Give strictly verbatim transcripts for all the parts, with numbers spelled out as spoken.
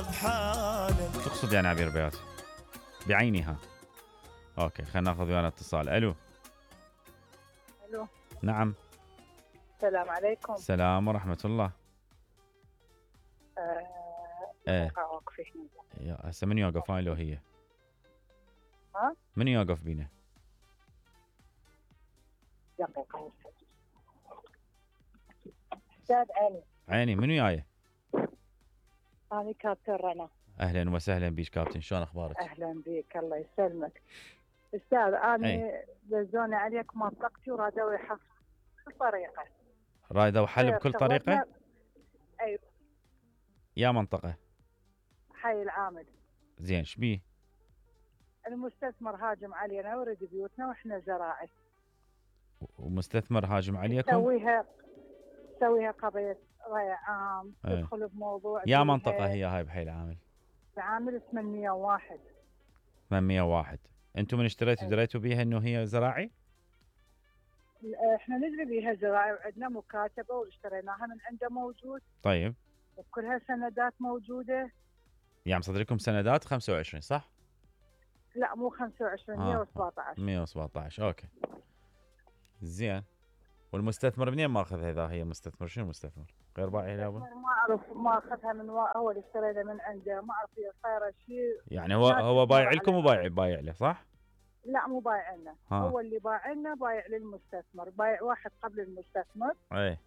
بحالك. شو تقصد يعني عبير بيات؟ بعينها. اوكي خلينا ناخذ ويانا اتصال. الو. الو. نعم. السلام عليكم. السلام ورحمة الله. آه ايه يا هسه من يوقف هاي لو هي؟ ها؟ من يوقف بينا؟ دقيقة. استاذ عيني. عيني من وياي؟ أنا كابتن رنا. اهلا وسهلا بيش كابتن، شلون اخبارك؟ اهلا بك الله يسلمك. استاذ انا دزوني عليك منطقتي ورادوا يحصل بكل طريقة. رادوا حل بكل طريقة؟ ايوه. يا منطقة؟ حي العامل. زين شبيه؟ المستثمر هاجم علينا ورد بيوتنا واحنا زراعي. ومستثمر هاجم عليكم؟ سويها سويها قضية رأي عام تدخل بموضوع. يا منطقة هي هاي بحي العامل؟ العامل ثمانمية وواحد. ثمانمية وواحد. انتم من اشتريتوا دريتوا بيها انه هي زراعي؟ احنا ندري بيها زراعي وعندنا مكاتبة واشتريناها من عنده موجود. طيب. وكلها سندات موجودة. يعني مصدركم سندات خمسة وعشرين صح؟ لا مو خمسة وعشرين آه. مية وسبعة عشر. مية وسبعة عشر اوكي. زين. والمستثمر منين ماخذها اذا هي مستثمر؟ شنو مستثمر؟ غير بايع لابد؟ ما اعرف ماخذها من و... هو اللي اشترينا من عنده، ما اعرف هي صايره شيء. يعني هو هو بايع لكم وبايع بايع له صح؟ لا مو بايع لنا، هو اللي بايع لنا بايع للمستثمر، بايع واحد قبل المستثمر. اي.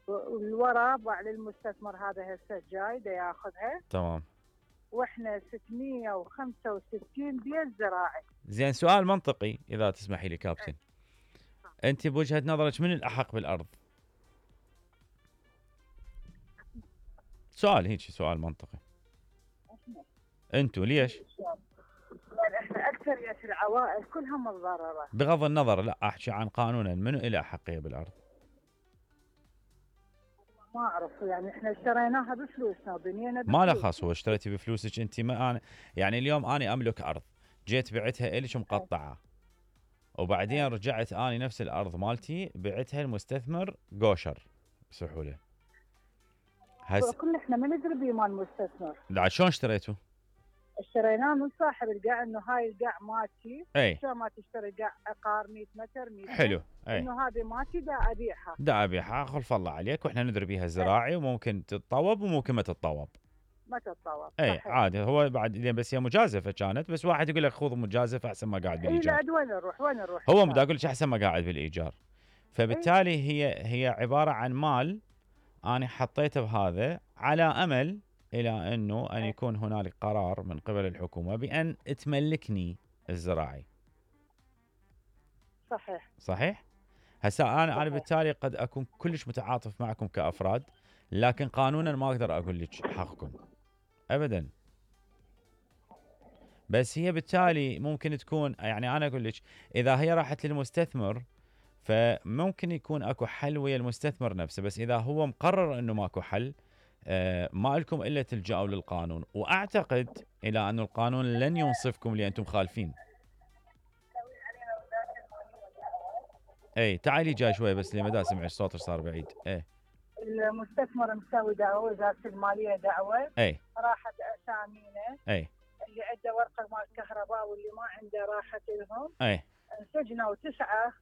والورا بايع للمستثمر هذا هسه جاي دا ياخذها. تمام. واحنا ستمية وخمسة وستين بيت زراعي. زين سؤال منطقي اذا تسمحي لي كابتن. أي. انت بوجهة نظرك من الاحق بالارض؟ سؤال هيك سؤال منطقي. انتوا ليش؟ يعني احنا اكثرية العوائل كلها متضررة. بغض النظر لا احكي عن قانونا منو له احقية بالارض؟ ما اعرف يعني احنا اشتريناها بفلوسنا وبنينا ما له خاص. هو اشتريتي بفلوسك انت؟ ما أنا يعني اليوم انا املك ارض جيت بعتها الك مقطعه وبعدين رجعت اني نفس الارض مالتي بعتها المستثمر قوشر بسهوله. هس كل احنا ما ندري بمال المستثمر. لا شلون اشتريته؟ اشتريناه من صاحب القاع انه هاي القاع مالتي. اي. شلون ما تشتري قاع عقار مية متر مية. حلو. اي. انه هذه مالتي دا ابيعها. دا ابيعها خلف الله عليك واحنا ندري بيها زراعي وممكن تتطوب وممكن ما تتطوب. ما تتطوب. اي عادي. هو بعد بس هي مجازفه كانت بس واحد يقول لك خذ مجازفه احسن ما قاعد بالايجار. اي لا وين نروح وين نروح؟ هو بدي اقول لك احسن ما قاعد بالايجار. فبالتالي أي. هي هي عباره عن مال انا حطيته بهذا على امل الى انه ان يكون هنالك قرار من قبل الحكومه بان تملكني الزراعي. صحيح. صحيح؟ هسه انا انا بالتالي قد اكون كلش متعاطف معكم كافراد لكن قانونا ما اقدر اقول لك حقكم ابدا. بس هي بالتالي ممكن تكون يعني انا اقول لك اذا هي راحت للمستثمر فممكن يكون اكو حل ويا المستثمر نفسه، بس اذا هو مقرر انه ماكو حل آه ما لكم الا تلجأوا للقانون، واعتقد الى ان القانون لن ينصفكم لانتم خالفين. اي تعالي جاي شوي بس لما دا سمع صوتك صار بعيد. اي المستثمر مسوي دعوه وزاره الماليه دعوه. اي راحت اسامينا. اي اللي عنده ورقه مال كهرباء واللي ما عنده راحت لهم. اي انسجنوا تسعه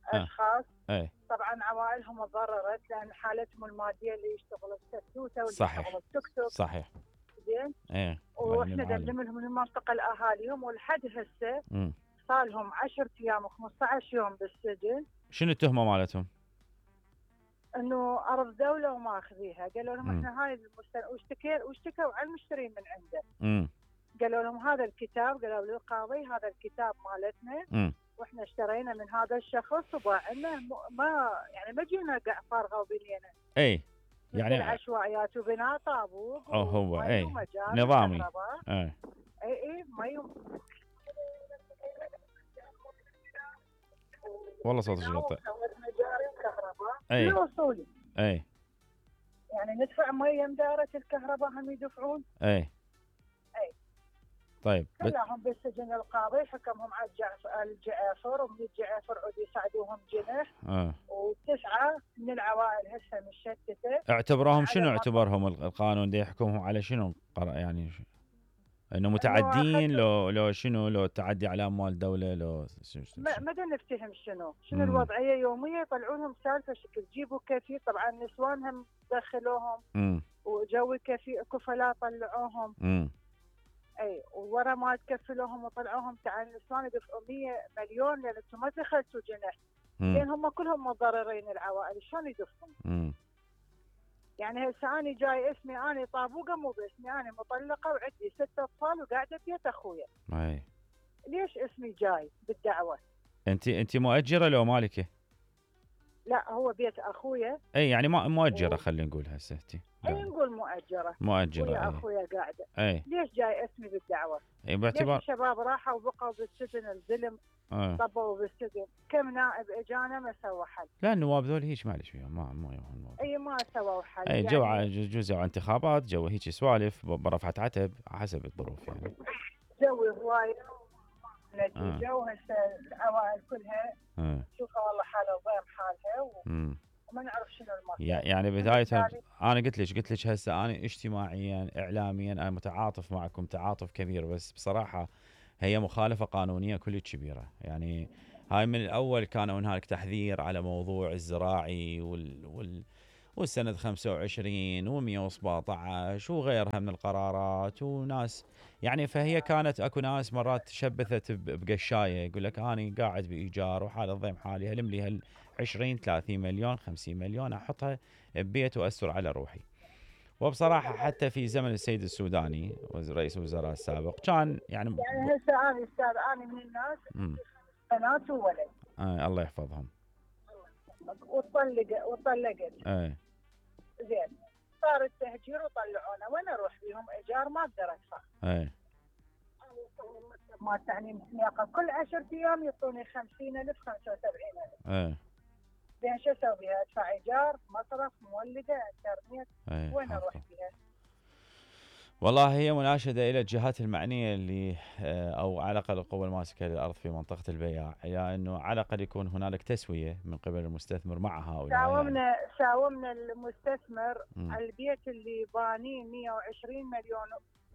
اشخاص. اي طبعا عوائلهم تضررت لان حالتهم الماديه اللي يشتغلوا السكوته واللي يشتغلوا التوك توك. صحيح. زين. ايه واحنا نقدم لهم من المنطقه لاهاليهم ولحد هسه صار لهم عشرة ايام وخمسة عشر يوم بالسجن. شنو التهمه مالتهم؟ انه ارض دوله وماخذيها. قالوا لهم مم. احنا هاي المستن واشتكوا واشتكوا على المشترين من عنده. امم قالوا لهم هذا الكتاب، قالوا للقاضي هذا الكتاب مالتنا. امم واحنا اشترينا من هذا الشخص وباع لنا ما يعني ما جينا قاع فارغه وبنينا. اي يعني عشوائيات وبناء طابوق. اه هو اي نظامي. اي اي اي مي. والله صوتك يقطع. اي وصولي. اي يعني ندفع مي مدارة الكهرباء هم يدفعون. اي اي طيب بت... كلهم بالسجن. القاضي حكمهم على الجعف- الجعافر، ومن الجعافر عود يصعدوهم جنح. آه. وتسعه من العوائل هسه مشتته. اعتبروهم شنو على اعتبرهم ال- القانون ده يحكمهم على شنو قر- يعني ش- انه انه متعدين اخذ لو لو شنو لو تعدي على اموال دوله لو شنو شنو- ما شنو؟ ما دا نفتهم شنو شنو مم. الوضعيه يوميه. يطلعون لهم سالفه شكل جيبوا كفيل. طبعا نسوانهم دخلوهم امم وجو كفي كفلاء طلعوهم. امم اي وورا ما تكفلوهم وطلعوهم. تعال النسوان يدفعوا مية مليون لان انتم ما دخلتوا جنح. لان هم كلهم متضررين العوائل. شلون يدفعون؟ امم يعني هسه انا جاي اسمي انا طابوقه مو باسمي. انا مطلقه وعندي ست اطفال وقاعده ببيت اخويا. اي ليش اسمي جاي بالدعوه؟ انت انت مؤجره لو مالكه؟ لا هو بيت اخويا. اي يعني ما مؤجره و- خلينا نقول هسه انت اي نقول مؤجره. مؤجره ويا اي اخويا قاعده. اي ليش جاي اسمي بالدعوه؟ اي ليش باعتبار الشباب راحوا وبقوا بالسجن الزلم آه. طبوا بالسجن؟ كم نائب اجانا ما سوى حل. لا النواب ذول هيك معلش فيهم ما ما يهون النواب. اي ما سووا حل. اي جو ع- يعني جو- جزء انتخابات جو هيك سوالف ب- برفعة عتب حسب الظروف يعني. جوي هواي آه. نتيجه. وهسه العوائل كلها آه. شوفها والله حالها وضيم حالها و- امم وما نعرف شنو المصير. يع- يعني بداية بالتالي انا قلت لك قلت لك هسه انا اجتماعيا اعلاميا انا متعاطف معكم تعاطف كبير، بس بصراحة هي مخالفة قانونية كلش كبيرة. يعني هاي من الاول كانوا هنالك تحذير على موضوع الزراعي وال, وال والسنة خمسة وعشرين ومئة وسبعة عشر وغيرها من القرارات وناس يعني. فهي كانت اكو ناس مرات تشبثت ب- بقشايه يقول لك اني قاعد بايجار وحال الضيم حالي هلم لي هال عشرين ثلاثين مليون خمسين مليون احطها ببيت واستر على روحي. وبصراحه حتى في زمن السيد السوداني وز- رئيس الوزراء السابق كان يعني ب... يعني هسه انا استاذ انا من الناس مم. بنات وولد آه الله يحفظهم. وطلق وطلقت. اي زين صار التهجير وطلعونا. وين اروح بيهم؟ ايجار ما اقدر ادفع. اي ما تعليم سياقه كل عشرة ايام يعطوني خمسين ألف خمسة وسبعين ألف. اي زين شو اسوي بها؟ ادفع ايجار مصرف مولده انترنت. اي وين اروح حافظ. بها؟ والله هي مناشدة إلى الجهات المعنية اللي آه، أو على الأقل القوى الماسكة للأرض في منطقة البياع، إلى أنه على الأقل يكون هنالك تسوية من قبل المستثمر مع هؤلاء. يعني. ساومنا ساومنا المستثمر مم. على البيت اللي بانيه مئة وعشرين مليون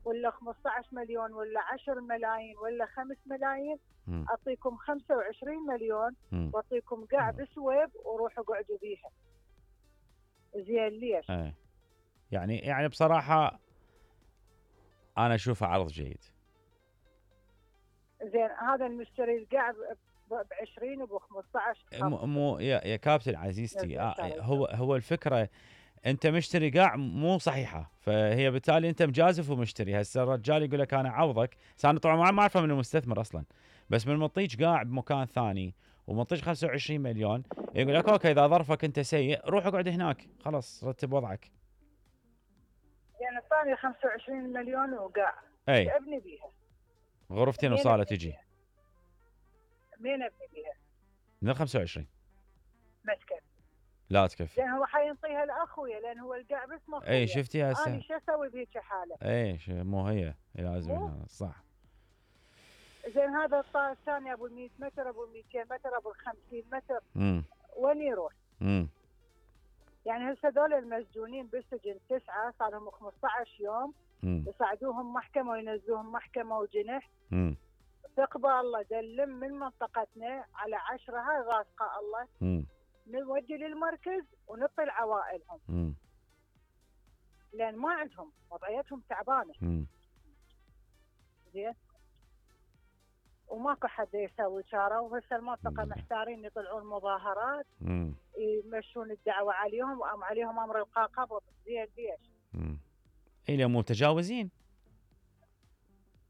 ولا خمسة عشر مليون ولا عشرة ملايين ولا خمسة ملايين. مم. اعطيكم خمسة وعشرين مليون مم. واعطيكم قاع بسويب وروحوا قعدوا بيها. زين ليش؟ أي. يعني يعني بصراحة أنا أشوفه عرض جيد. زين هذا المشتري القاع ب عشرين وب خمسة عشر. مو مو يا, يا كابتن عزيزتي يا آه سلام. هو هو الفكرة أنت مشتري قاع مو صحيحة، فهي بالتالي أنت مجازف ومشتري. هسه الرجال يقول لك أنا عوضك، أنا طبعا ما أعرفه من المستثمر أصلا، بس من منطيج قاع بمكان ثاني ومنطيج خمسة وعشرين مليون يقول لك أوكي إذا ظرفك أنت سيء روح اقعد هناك خلاص رتب وضعك. يعني الثانية خمسة وعشرين مليون وقاع. أي ابني بيها. غرفتين مين وصالة ابني تجي بيها؟ مين ابني بيها؟ من خمسة وعشرين ما تكفي. لا تكفي. لان هو حينطيها لاخويا لان هو القاع باسم اخويا. اي شفتي انا هسه شو اسوي بهيك حاله؟ اي ش- مو هي لازم مو؟ هنا، صح. زين هذا الطائر الثاني ابو مئة متر ابو مئتين متر ابو خمسين متر امم وين يروح؟ امم يعني هسه هذول المسجونين بالسجن تسعه صار لهم خمسة عشر يوم امم يصعدوهم محكمه وينزلوهم محكمه وجنح. امم تقبى الله دلم من منطقتنا على عشرة هاي غاسقه الله امم نودي للمركز ونعطي لعوائلهم امم لان ما عندهم وضعيتهم تعبانه. امم زين وماكو حد يسوي شاره. وهسه المنطقه مم. محتارين يطلعون مظاهرات امم يمشون الدعوه عليهم وام عليهم امر القاء قبض. زين ليش؟ امم اي مو متجاوزين.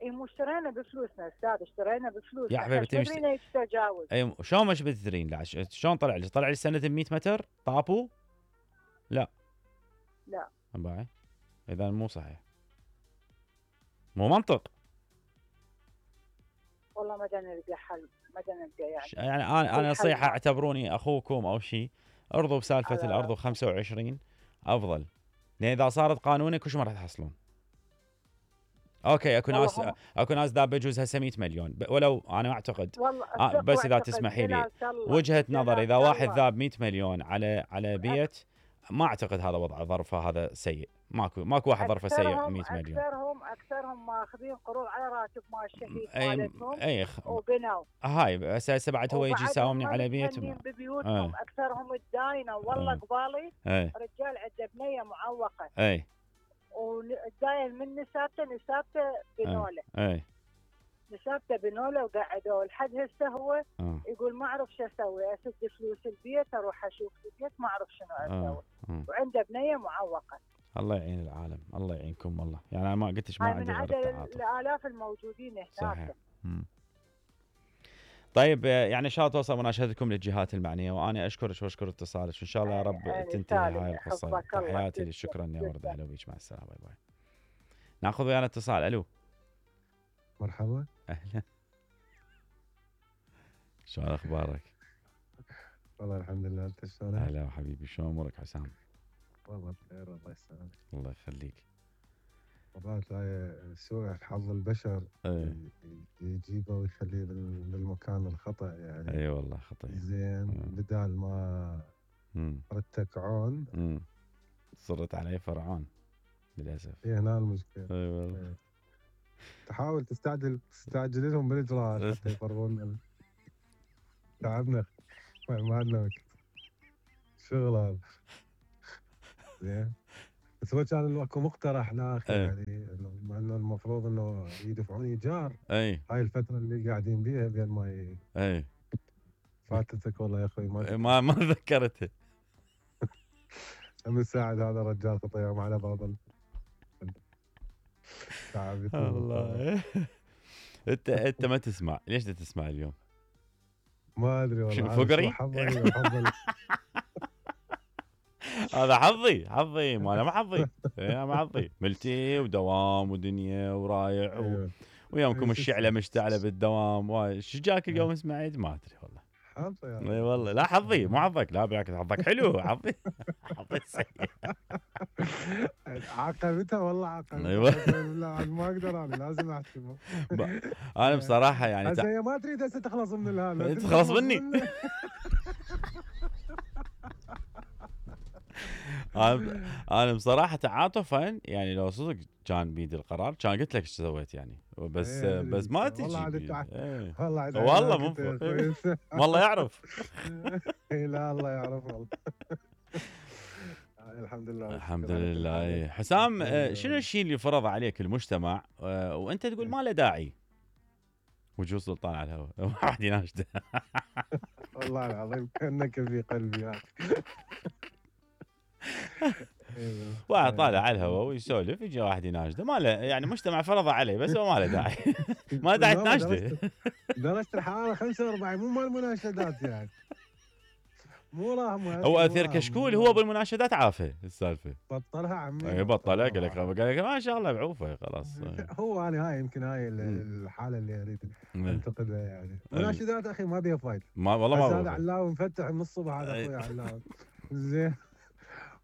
اي مو اشترينا بفلوسنا استاذ اشترينا بفلوس. يا حبيبتي مش- تدرين ايش تجاوز؟ اي شلون مش بتدرين لا ش- شلون طلع لي طلع لي سنة مئة متر طابو؟ لا لا باي اذا مو صحيح مو منطق. والله ما دا نلقى حل ما دا نلقى يعني. ش- يعني انا انا الحل نصيحة ما- اعتبروني اخوكم او شيء، ارضوا بسالفة على- الارض خمسة وعشرين افضل، لان اذا صارت قانوني كل شيء ما راح تحصلون. اوكي اكو والله ناس هم اكو ناس ذا بجوز هسه مئة مليون ب- ولو انا اعتقد والله آه ثق بس اذا واعتقد تسمحي لي جلالة الله وجهة نظر، اذا جلالة واحد الله. ذاب مئة مليون على على بيت، ما اعتقد هذا وضع ظرفه هذا سيء. ماكو ماكو واحد ظرفه سيء اكثرهم مئة مليون. اكثرهم اكثرهم ماخذين قروض على راتب مال الشهيد اي مالتهم اي خ... وبنوا، هاي بس هسه بعد هو يجي وبعدهم يساومني ما على بيت. متهنين ببيوتهم. اي اكثرهم الداينه والله اي قبالي اي رجال عنده بنيه معوقه، اي والداين من نسابته نسابته بنوله، اي نسابته بنوله وقعدوه لحد هسه هو اه يقول ما اعرف شو اسوي، اسد فلوس البيت اروح اشوف البيت ما اعرف شنو اسوي، اه وعنده بنيه معوقه. الله يعين العالم، الله يعينكم والله. يعني انا ما قلتش ما هاي عندي من غير عدد التعاطف. الالاف الموجودين هناك. صحيح. مم. طيب آه، يعني ان شاء الله توصل مناشدتكم للجهات المعنيه، وانا اشكرك واشكر اتصالك، وان شاء الله يا رب أنا تنتهي سالم هاي القصه. حفظك الله. تحياتي تسلم. لك، شكرا يا ورد، تسلم. اهلا بيك، مع السلامه، باي باي. ناخذ ويانا اتصال. الو. مرحبا. اهلا. شلون اخبارك؟ والله الحمد لله، انت شلونك؟ هلا حبيبي، شلون امورك حسام؟ والله بخير، الله يسلمك. الله يخليك. مرات هاي سوء حظ البشر ايه يجيبه ويخليه بال- بالمكان الخطأ يعني. اي والله خطير. زين، مم. بدال ما امم ردتك عون امم صرت علي فرعون للاسف. هي هنا المشكلة. اي والله. إيه. تحاول تستعجل تستعجل لهم بالاجراءات حتى يفرغون. تعبنا، ما ما عندنا وقت، شغل هذا. زين، بس هو كان اكو مقترح اخر إيه. يعني انه مع انه المفروض انه يدفعون ايجار اي هاي الفترة اللي قاعدين بيها بين ما ي- اي فاتتك والله يا اخوي ما ما ما ذكرته. من ساعد هذا الرجال خطيهم على بعض ال- تعب الله. انت انت ما تسمع، ليش انت تسمع اليوم؟ ما ادري والله. شنو هذا فقري؟ شو حظي وحظ هذا حظي حظي ما انا ما حظي. انا ما حظي ملتي ودوام ودنيا ورايع و... ايوه ويومكم إيه، الشعله شو مشتعله بالدوام. واي شو جاك اليوم سمعت؟ ما ادري والله. حظي يا اي والله لا حظي مو حظك، لا بالعكس حظك حلو. حظي حظي سيء. عاقبتها والله عاقبتها. أيوة. لا عاد ما اقدر، انا لازم احسبه. ب- انا بصراحه يعني هسه تع... هي ما تريد هسه تخلص من الهالة، أنت تخلص مني. انا انا بصراحه تعاطفا يعني لو صدق كان بيدي القرار كان قلت لك ايش سويت يعني، بس إيه، بس ما والله تجي عاد بيدي. تع- إيه. والله عاد والله عينك مو أنت يا فوق. أخوي. والله يعرف. إيه، لا الله يعرف والله. الحمد لله. الحمد لله. إيه. حسام آه، شنو الشيء اللي فرض عليك المجتمع آه، وانت تقول ما له داعي؟ وجوه سلطان على الهواء. واحد يناشده. والله العظيم كانك في قلبي يا اخي. أيوة. واحد طالع على الهواء ويسولف، يجي واحد يناشده، ما له يعني مجتمع فرض عليه بس هو ما له داعي. ما له داعي لا، تناشده. درجة- درجة الحرارة خمسة وأربعين مو مال مناشدات يعني. مو راهم هو اثير كشكول هو بالمناشدات عافه السالفه. بطلها عمي. اي بطلها، قال لك قال لك ما شاء الله بعوفه خلاص. هو انا هاي يمكن هاي ال- مم. الحالة اللي اريد إيه. انتقدها يعني. مناشدات اخي ما بيها فايدة. ما والله هسه ما هذا بعوفه. علاوي مفتح من الصبح، هذا إيه. اخوي علاوي. زين،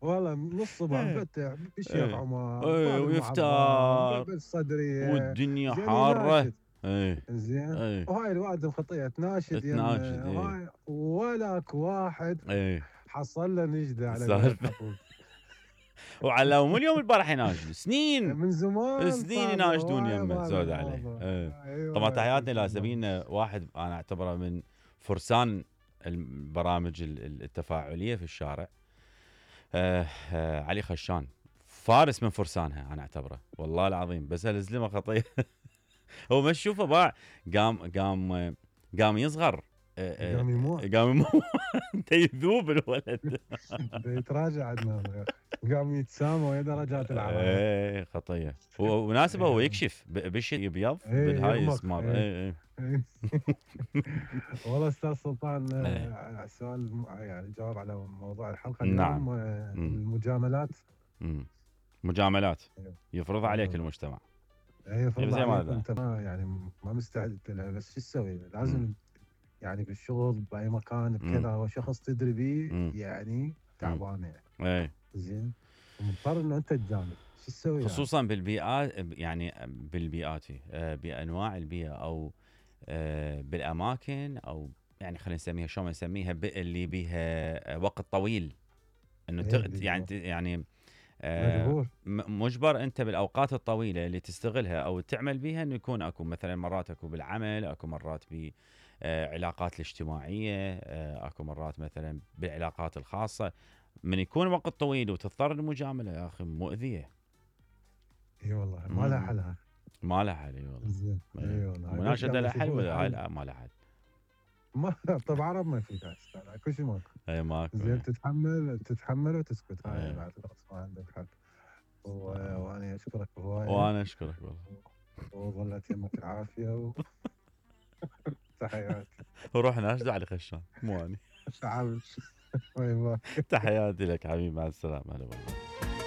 والله من الصبح إيه. مفتح بالشيخ إيه. عمر إيه، باب ويفتح. المعظم، باب الصدرية والدنيا زين حاره. يناشد. ايه زين، ايه وهاي الواد الخطيه تناشد تناشد، يم إيه. هاي ولك واحد ايه حصل له نجده على سالفة. الخطوب. وعلى مو اليوم البارح يناشد سنين من زمان سنين صار يناشدون هواي يمه هذا زود عليه. الموضوع. ايه. أيوة طبعا يا تحياتي أخي، لسبينا، واحد انا اعتبره من فرسان البرامج ال- ال- التفاعليه في الشارع. آه آه علي خشان فارس من فرسانها انا اعتبره والله العظيم. بس الزلمه خطيه. هو ما تشوفه باع قام قام قام يصغر. آه، آه، قام يموت. قام يموت. انت يذوب الولد. بده يتراجع عندنا يا أخي. قام يتسامى ويا درجات العرب. ايه خطيه. هو مناسبه هو يكشف ب- بشي يبيض إيه، بالهاي يغمق. اسمر. إيه. ايه ايه والله استاذ سلطان، إيه. آه، سؤال يعني جواب على موضوع الحلقه نعم. اليوم. آه، مم. المجاملات. مم. مجاملات أيوه. يفرض عليك أيوه. المجتمع. هي فرض زي ما عليك هذا. انت ما يعني ما مستعد لها، بس شو تسوي؟ لازم مم. يعني بالشغل باي مكان بكذا، هو شخص تدري مم. بيه يعني تعبان يعني. ايه زين، ومضطر انه انت تجامل. شو تسوي يعني؟ خصوصا بالبيئات، يعني بالبيئات آه، بانواع البيئه او آه، بالاماكن، او يعني خلينا نسميها شو ما نسميها، اللي بيها وقت طويل انه إيه تغ... اللي يعني هو يعني آه، مجبور. م- مجبر انت بالاوقات الطويله اللي تستغلها او تعمل بيها انه يكون اكو مثلا مرات اكو بالعمل، اكو مرات بعلاقات الاجتماعيه، آه، اكو مرات مثلا بالعلاقات الخاصه. من يكون وقت طويل وتضطر للمجامله يا اخي مؤذيه. اي والله ما لها مم. حلها. ما لها حل، اي والله. زين إيه. اي والله مناشده يلا لها حل يشوفون ولا هاي الحل. لا ما لها حل. ما طب عرب ما في داعي تستاهل، كل شيء ماكو. اي ماكو. زين إيه. تتحمل تتحمل وتسكت، هاي إيه. بعد خلاص ما عندك حل. و- آه. وانا اشكرك هوايه، وانا اشكرك والله. وظلت يمك العافيه و... تحياتي. ورحنا ايش داعي لخشان، مو اني. تعال باي باي. تحياتي لك حبيبي، مع السلامه، هلا والله.